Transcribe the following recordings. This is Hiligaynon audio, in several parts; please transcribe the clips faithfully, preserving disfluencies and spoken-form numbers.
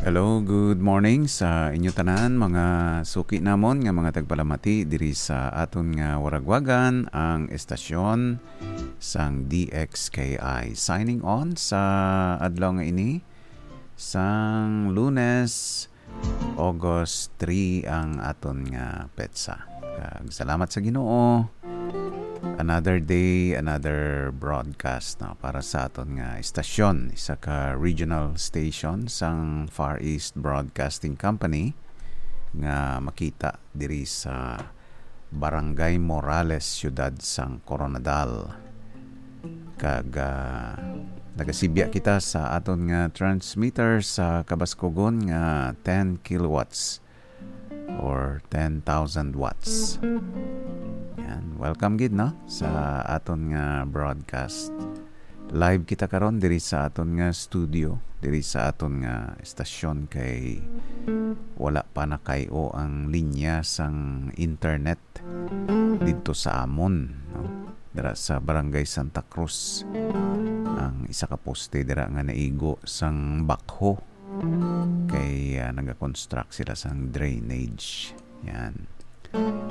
Hello, good morning sa inyo tanan, mga suki namon nga mga tagpalamati diri sa aton nga waragwagan, ang estasyon sang D X K I. Signing on sa adlaw nga ini, sang Lunes, August three ang aton nga petsa. Kag salamat sa Ginoo. Another day, another broadcast, no, para sa aton nga estasyon, isa ka regional station sang Far East Broadcasting Company nga makita diri sa Barangay Morales, siyudad sang Koronadal. Kag, ah, nagasibya kita sa aton nga transmitter sa kabaskugon nga ten kilowatts or ten thousand watts. Yan. Welcome gid, no, sa aton nga broadcast. Live kita karon diri sa aton nga studio, diri sa aton nga estasyon, kay wala pa nakay-o ang linya sang internet didto sa amon, no? Dira sa Barangay Santa Cruz, ang isa ka poste dira nga naigo sang backhoe kay, ah, nagakonstruct sila sang drainage. Yan.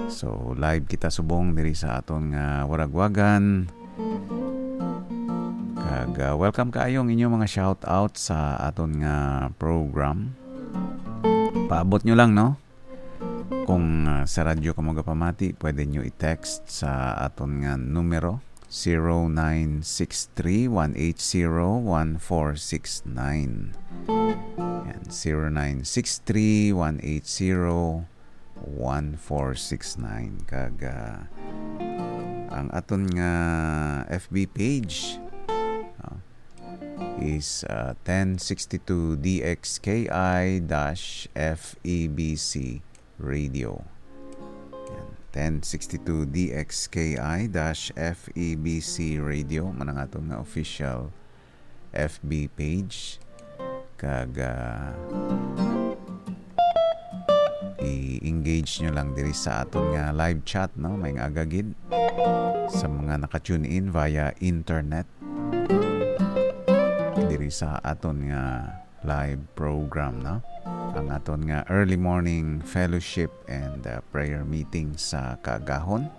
So, live kita subong diri sa aton nga waragwagan. Kag, ah, welcome kaayo ang inyo mga shout out sa aton nga program. Paabot nyo lang, no? Kung, ah, sa radyo kamo gapamati, pwede nyo i-text sa aton nga numero, zero nine six three, one eight zero, one four six nine. Yan, zero nine six three, one eight zero, one four six nine. Kag, ah, ang aton nga F B page, ah, is, ah, ten sixty-two D X K I dash F E B C Radio. Yan, ten sixty-two D X K I dash F E B C Radio, man ang aton nga official F B page. Kag, ah, i-engage nyo lang diri sa aton nga live chat, no? May nga agagid sa mga naka-tune in via internet diri sa aton nga live program, no? Ang aton nga early morning fellowship and, uh, prayer meeting sa kaagahon.